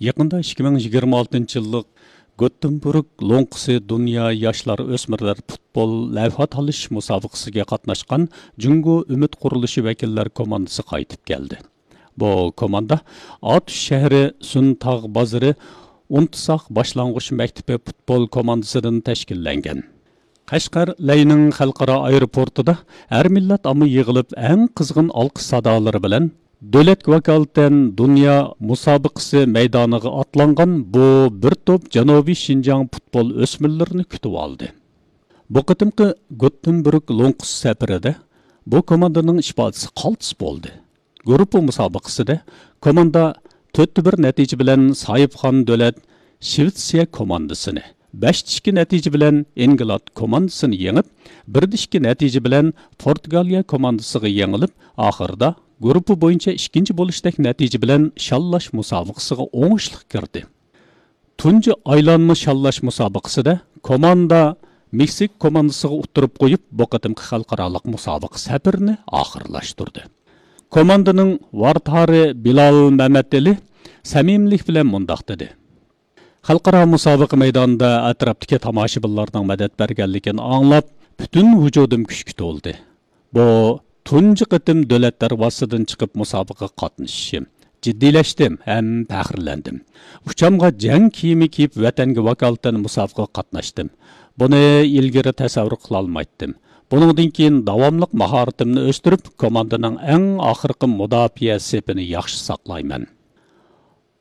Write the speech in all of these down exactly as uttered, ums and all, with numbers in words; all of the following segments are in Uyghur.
يېقىندا ئىككى مىڭ يىگىرمە ئالتىنچى يىللىق گوتېنبورگ لوڭقىسى دۇنيا ياشلار ئۆسمۈرلەر پۇتبول لەۋھە تالىشىش مۇسابىقىسىگە قاتناشقان جۇڭگو ئۈمىد قۇرۇلۇشى ۋەكىللەر كوماندىسى قايتىپ كەلدى. بۇ كوماندا ئاتۇش شەھىرى سۈنتاغ بازىرى ئۇنتساق باشلانغۇچ مەكتىپى پۇتبول كوماندىسىدىن تەشكىللەنگەن. قەشقەر لەينىڭ خەلقئارا ئايروپورتىدا ھەر مىللەت ئامما يىغىلىپ، ئەڭ قىزغىن ئالقىش سادالىرى بىلەن دۆلەتكە ۋاكالىتەن دۇنيا مۇسابىقىسى مەيدانىغا ئاتلانغان بۇ بىر توپ جەنۇبىي شىنجاڭ پۇتبول ئۆسمۈرلىرىنى كۈتۈۋالدى. بۇ قېتىمقى گوتېنبورگ لوڭقىسى سەپىرىدە بۇ كوماندىنىڭ ئىپادىسى قالتىس بولدى. گۇرۇپپا مۇسابىقىسىدە كوماندا تۆتتە بىر نەتىجە بىلەن ساھىبخان دۆلەت شىۋېتسىيە كوماندىسىنى، بەشتە ئىككى نەتىجە بىلەن ئىنگلاد كوماندىسىنى يېڭىپ، بىردە ئىككى نەتىجە بىلەن پورتۇگالىيە كوماندىسىغا يېڭىلىپ، ئاخىرىدا گۇرۇپپا بويىچە ئىككىنچى بولۇشتەك نەتىجە بىلەن شاللاش مۇسابىقىسىغا ئوڭۇشلۇق كىردى. تۇنجى ئايلانما شاللاش مۇسابىقىسىدە كوماندا مېكسىكا كوماندىسىغا ئۇتتۇرۇپ قويۇپ، بۇ قېتىمقى خەلقئارالىق مۇسابىقە سەپىرىنى ئاخىرلاشتۇردى. كوماندىنىڭ ۋارتارى بىلال مەمەتئېلى سەمىمىيلىك بىلەن مۇنداق دېدى: خەلقئارا مۇسابىقە مەيدانىدا ئەتراپتىكى تاماشىبىنلارنىڭ مەدەت بەرگەنلىكىنى ئاڭلاپ، پۈتۈن ۋۇجۇدۇم كۈچكە تولدى. بۇ تۇنجى قېتىم دۆلەت دەرۋازىسىدىن چىقىپ مۇسابىقىگە قاتنىشىشىم. جىددىيلەشتىم ھەم پەخىرلەندىم. ئۇچامغا جەڭ كىيىمى كىيىپ، ۋەتەنگە ۋاكالىتەن مۇسابىقىگە قاتناشتىم. بۇنى ئىلگىرى تەسەۋۋۇر قىلالمايتتىم. بۇنىڭدىن كېيىن داۋاملىق ماھارىتىمنى ئۆستۈرۈپ، كوماندىنىڭ ئەڭ ئاخىرقى مۇداپىئە سېپىنى ياخشى ساقلايمەن.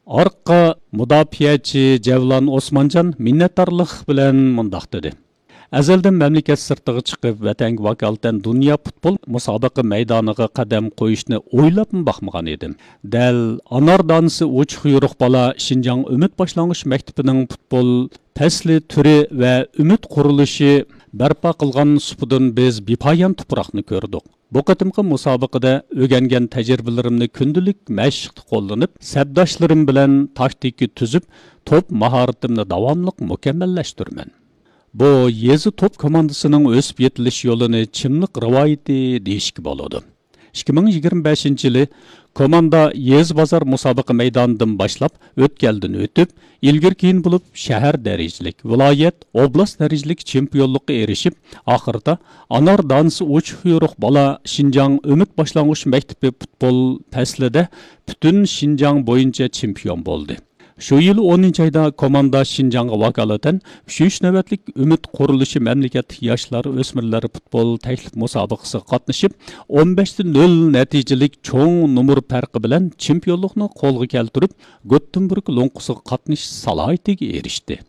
ئارقا مۇداپىئەچى جەۋلان ئوسمانجان مىننەتدارلىق بىلەن مۇنداق دېدى: ئەزەلدىن مەملىكەت سىرتىغا چىقىپ، ۋەتەنگە ۋاكالىتەن دۇنيا پۇتبول مۇسابىقە مەيدانىغا قەدەم قويۇشنى ئويلاپمۇ باقمىغان ئىدىم. دەل ئانار دانىسى ئوچۇق يورۇق بالا شىنجاڭ ئۈمىد باشلانغۇچ مەكتىپىنىڭ پۇتبول پەسلى تۈرى ۋە ئۈمىد قۇرۇلۇشى بەرپا قىلغان سۇپىدىن بىز بىپايان تۇپراقنى كۆردۇق. بۇ قېتىمقى مۇسابىقىدە ئۆگەنگەن تەجرىبىلىرىمنى كۈندىلىك مەشىقتە قوللىنىپ، سەپداشلىرىم بىلەن تاكتىكا تۈزۈپ، توپ ماھارىتىمنى داۋاملىق مۇكەممەللەشتۈرىمەن. بۇ يېزا توپ كوماندىسىنىڭ ئۆسۈپ يېتىلىش يولىنى چىملىق رىۋايىتى دېيىشكە بولىدۇ. ئىككى مىڭ يىگىرمە بەشىنچى يىلى كوماندا يېزا بازار مۇسابىقە مەيدانىدىن باشلاپ، ئۆتكەلدىن ئۆتۈپ، ئىلگىرى كېيىن بولۇپ شەھەر دەرىجىلىك، ۋىلايەت، ئوبلاست دەرىجىلىك چېمپىيونلۇققا ئېرىشىپ، ئاخىرىدا ئانار دانىسى ئوچۇق يورۇق بالا شىنجاڭ ئۈمىد باشلانغۇچ مەكتىپى پۇتبول پەسلىدە پۈتۈن شىنجاڭ بويىچە چېمپىيون بولدى. شۇ يىل ئونىنچى ئايدا كوماندا شىنجاڭغا ۋاكالىتەن ئۈچىنچى نۆۋەتلىك ئۈمىد قۇرۇلۇشى مەملىكەتلىك ياشلار ئۆسمۈرلەر پۇتبول تەكلىپ مۇسابىقىسىگە قاتنىشىپ، ئون بەشتە نۆل نەتىجىلىك چوڭ نومۇر پەرقى بىلەن چېمپىيونلۇقنى قولغا كەلتۈرۈپ، گۆتتېنبۇرگ لوڭقىسىغا قاتنىشىش سالاھىيىتىگە ئېرىشتى.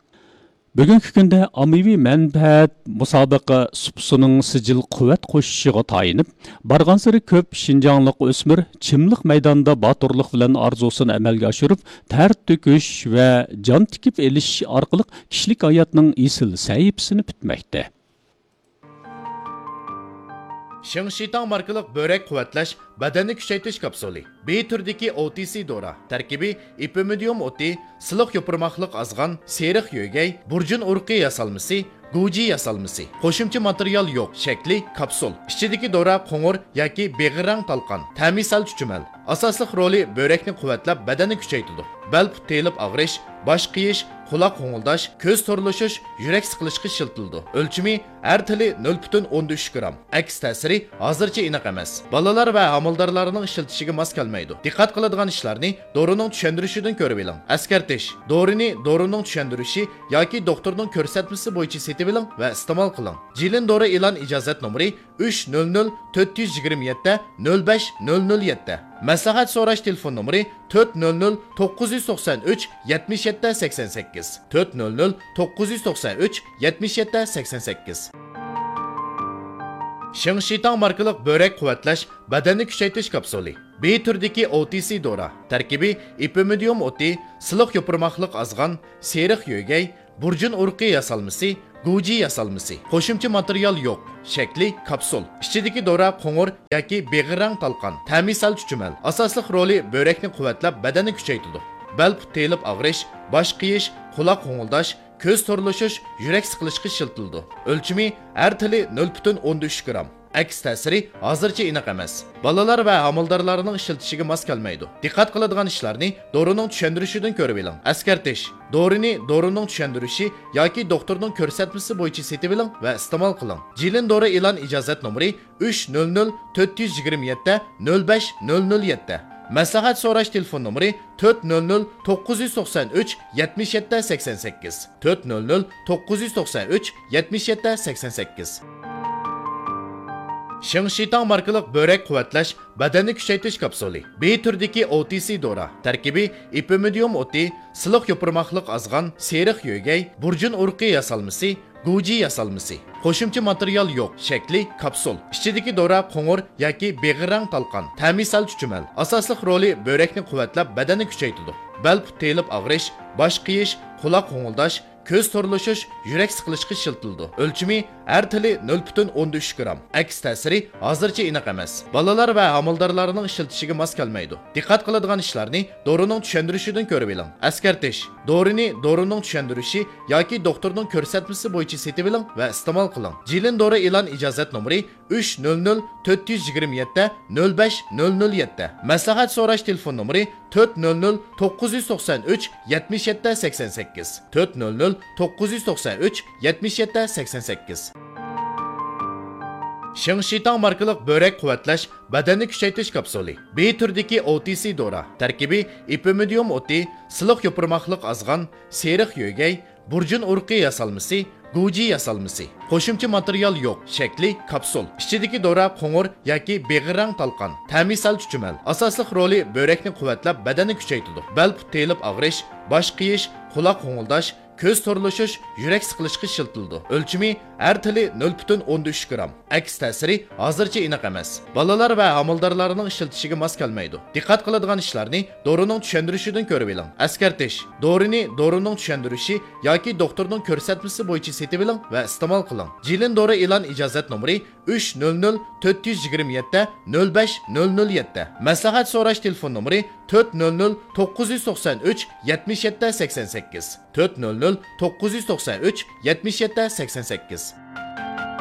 بۈگۈنكى كۈندە ئاممىۋى مەنپەئەت مۇسابىقە سۇپىسىنىڭ سىجىل قۇۋۋەت قوشۇشىغا تايىنىپ، بارغانسېرى كۆپ شىنجاڭلىق ئۆسمۈر چىملىق مەيدانىدا باتۇرلۇق بىلەن ئارزۇسىنى ئەمەلگە ئاشۇرۇپ، تەر تۆكۈش ۋە جان تىكىپ ئېلىش ئارقىلىق كىشىلىك ھاياتنىڭ ئېسىل سەھىپىسىنى پۈتمەكتە. شىڭشىتاڭ ماركىلىق بۆرەك قۇۋۋەتلەش، بەدەننى كۈچەيتىش كاپسۇلى. بى تۈرىدىكى ئو تى سى دورا. تەركىبى ئېپىمىدىيۇم ئوتى، سىلىق يوپۇرماقلىق ئازغان، سېرىق يۆگەي، بۇرجۇن ئۇرۇقى ياسالمىسى، گۇجى ياسالمىسى. قوشۇمچە ماتېرىيال يوق. شەكلى كاپسۇل. ئىچىدىكى دورا قوڭۇر ياكى بېغىرراڭ تالقان. تەمى سەل چۈچۈمەل. ئاساسلىق رولى بۆرەكنى قۇۋۋەتلەپ، بەدەننى كۈچەيتىدۇ. بەل پۇت تېيىلىپ ئاغرىش، باش قېيىش، قۇلاق غوڭۇلداش، كۆز تورلىشىش، يۈرەك سىقىلىشقا ئىشلىتىلىدۇ. ئۆلچىمى ھەر تېلى نۆل پۈتۈن ئوندىن ئۈچ گرام. ئەكس تەسىرى ھازىرچە ئېنىق ئەمەس. بالىلار ۋە ھامىلىدارلارنىڭ ئىشلىتىشىگە ماس كەلمەيدۇ. دىققەت قىلىدىغان ئىشلارنى دورىنىڭ چۈشەندۈرۈشىدىن كۆرۈۋېلىڭ. ئەسكەرتىش: دورىنى دورىنىڭ چۈشەندۈرۈشى ياكى دوختۇرنىڭ كۆرسەتمىسى بويىچە سېتىۋېلىڭ ۋە ئىستېمال قىلىڭ. جىلىن دورا ئېلان ئىجازەت نومۇرى ئۈچ نۆل نۆل تۆت يۈز يىگىرمە يەتتە نۆل بەش نۆل نۆل يەتتە. مەسلىھەت سوراش تېلېفون نومۇرى تۆت نۆل نۆل توققۇز يۈز توقسان ئۈچ يەتمىش يەتتە سەكسەن سەككىز، تۆت نۆل نۆل توققۇز يۈز توقسان ئۈچ يەتمىش يەتتە سەكسەن سەككىز. شىڭشىتاڭ ماركىلىق بۆرەك قۇۋۋەتلەش، بەدەننى كۈچەيتىش كاپسۇلى. بى تۈرىدىكى ئو تى سى دورا. تەركىبى ئېپىمىدىيۇم ئوتى، سىلىق يوپۇرماقلىق ئازغان، سېرىق يۆگەي، بۇرجۇن ئۇرۇقى ياسالمىسى، گۇجى ياسالمىسى. قوشۇمچە ماتېرىيال يوق. شەكلى كاپسۇل. ئىچىدىكى دورا قوڭۇر ياكى بېغىرراڭ تالقان. تەمى سەل چۈچۈمەل. ئاساسلىق رولى بۆرەكنى قۇۋۋەتلەپ، بەدەننى كۈچەيتىدۇ. بەل پۇت تېيىلىپ ئاغرىش، باش قېيىش، قۇلاق غوڭۇلداش، كۆز تورلىشىش، يۈرەك سىقىلىشقا ئىشلىتىلىدۇ. ئۆلچىمى ھەر تېلى نۆل پۈتۈن ئوندىن ئۈچ گرام. ئەكس تەسىرى ھازىرچە ئېنىق ئەمەس. بالىلار ۋە ھامىلىدارلارنىڭ ئىشلىتىشىگە ماس كەلمەيدۇ. دىققەت قىلىدىغان ئىشلارنى دورىنىڭ چۈشەندۈرۈشىدىن كۆرۈۋېلىڭ. ئەسكەرتىش: دورىنى دورىنىڭ چۈشەندۈرۈشى ياكى دوختۇرنىڭ كۆرسەتمىسى بويىچە سېتىۋېلىڭ ۋە ئىستېمال قىلىڭ. جىلىن دورا ئېلان ئىجازەت نومۇرى ئۈچ نۆل نۆل تۆت يۈز يىگىرمە يەتتە نۆل بەش نۆل نۆل يەتتە. مەسلىھەت سوراش تېلېفون نومۇرى تۆت نۆل نۆل توققۇز يۈز توقسان ئۈچ يەتمىش يەتتە سەكسەن سەككىز، تۆت نۆل نۆل توققۇز يۈز توقسان ئۈچ يەتمىش يەتتە سەكسەن سەككىز. شىڭشىتاڭ ماركىلىق بۆرەك قۇۋۋەتلەش، بەدەننى كۈچەيتىش كاپسۇلى. بى تۈرىدىكى ئو تى سى دورا. تەركىبى: ئېپىمىدىيۇم ئوتى، سىلىق يوپۇرماقلىق ئازغان، سېرىق يۆگەي، بۇرجۇن ئۇرۇقى ياسالمىسى، گۇجى ياسالمىسى. قوشۇمچە ماتېرىيال يوق. شەكلى: كاپسۇل. ئىچىدىكى دورا قوڭۇر ياكى بېغىر رەڭ تالقان. تەمى سەل چۈچۈمەل. ئاساسلىق رولى بۆرەكنى قۇۋۋەتلەپ، بەدەننى كۈچەيتىدۇ. بەل پۇت تېيىلىپ ئاغرىش، باش قېيىش، قۇلاق غوڭۇلداش، كۆز تورلىشىش، يۈرەك سىقىلىشقا ئىشلىتىلىدۇ. ئۆلچىمى: ھەر تېلى نۆل پۈتۈن ئوندىن ئۈچ گرام. ئەكس تەسىرى ھازىرچە ئېنىق ئەمەس. بالىلار ۋە ھامىلىدارلارنىڭ ئىشلىتىشىگە ماس كەلمەيدۇ. دىققەت قىلىدىغان ئىشلارنى دورىنىڭ چۈشەندۈرۈشىدىن كۆرۈۋېلىڭ. ئەسكەرتىش: دورىنى دورىنىڭ چۈشەندۈرۈشى ياكى دوختۇرنىڭ كۆرسەتمىسى بويىچە سېتىۋېلىڭ ۋە ئىستېمال قىلىڭ. جىلىن دورا ئېلان ئىجازەت نومۇرى ئۈچ نۆل نۆل تۆت يۈز يىگىرمە يەتتە نۆل بەش نۆل نۆل يەتتە. مەسلىھەت سوراش تېلېفون نومۇرى تۆت نۆل نۆل توققۇز يۈز توقسان ئۈچ يەتمىش يەتتە سەكسەن سەككىز، تۆت نۆل نۆل توققۇز يۈز توقسان ئۈچ يەتمىش يەتتە سەكسەن سەككىز. شىڭشىتاڭ ماركىلىق بۆرەك قۇۋۋەتلەش، بەدەننى كۈچەيتىش كاپسۇلى. بى تۈرىدىكى ئو تى سى دورا. تەركىبى: ئېپىمىدىيۇم ئوتى، سىلىق يوپۇرماقلىق ئازغان، سېرىق يۆگەي، بۇرجۇن ئۇرۇقى ياسالمىسى، گۇجى ياسالمىسى. قوشۇمچە ماتېرىيال يوق. شەكلى: كاپسۇل. ئىچىدىكى دورا قوڭۇر ياكى بېغىر رەڭ تالقان. تەمى سەل چۈچۈمەل. ئاساسلىق رولى بۆرەكنى قۇۋۋەتلەپ، بەدەننى كۈچەيتىدۇ. بەل پۇت تېيىلىپ ئاغرىش، باش قېيىش، قۇلاق غوڭۇلداش، كۆز تورلىشىش، يۈرەك سىقىلىشقا ئىشلىتىلىدۇ. ئۆلچىمى: ھەر تېلى نۆل پۈتۈن ئوندىن ئۈچ گرام. ئەكس تەسىرى ھازىرچە ئېنىق ئەمەس. بالىلار ۋە ھامىلىدارلارنىڭ ئىشلىتىشىگە ماس كەلمەيدۇ. دىققەت قىلىدىغان ئىشلارنى دورىنىڭ چۈشەندۈرۈشىدىن كۆرۈۋېلىڭ. ئەسكەرتىش: دورىنى دورىنىڭ چۈشەندۈرۈشى ياكى دوختۇرنىڭ كۆرسەتمىسى بويىچە سېتىۋېلىڭ ۋە ئىستېمال قىلىڭ. جىلىن دورا ئېلان ئىجازەت نومۇرى ئۈچ نۆل نۆل تۆت يۈز يىگىرمە يەتتە نۆل بەش نۆل نۆل يەتتە. مەسلىھەت سوراش تېلېفون نومۇرى تۆت نۆل نۆل توققۇز يۈز توقسان ئۈچ يەتمىش يەتتە سەكسەن سەككىز، تۆت نۆل نۆل توققۇز يۈز توقسان ئۈچ يەتمىش يەتتە سەكسەن سەككىز.